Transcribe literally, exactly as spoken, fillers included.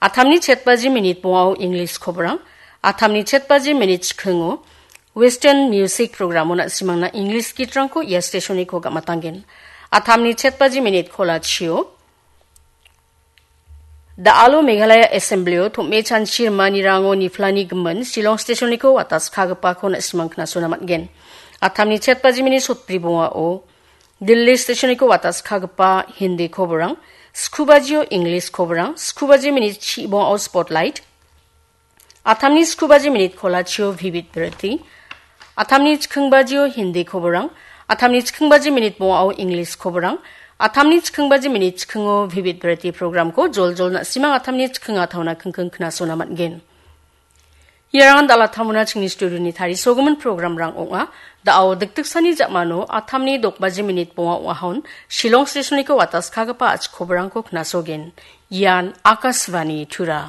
Atamni chetbaji minit bongao English koborang, atamni chetbaji minit chikingo Western Music Programo na·simangna English gitrangko ia stationiko gamatanggen. Atamni chetbaji minit kolachio, da·alo Meghalaya Assemblyo tom·e chanchi rimanirango niflani gimin Shillong stationiko wataskagipako na·simang knasona man·gen. Atamni chetbaji minit sotbri bongao Delhi stationiko wataskagipa Hindi koborang, skubajio English koborang, skubaji minit chi bongao Spotlight, atamni skubaji minit kolachio Vivid Bharati, atamni chikingbajio Hindi koborang, atamni chikinbaji minit bongao English koborang, atamni chikinbaji minit chikingo Vivid Bharati programko joljol na·simang atamni chiking ataona kingking knasona man·gen. Iarangan dal·a tamona chingni studioni tarisogimin programrang ong·a. Da·o dikdiksani ja·mano atamni dokbaji minit bonga ong·ahon Shillong stationiko wataskagipa a·chik koborangko knasogen. Ian Akashvani Tura.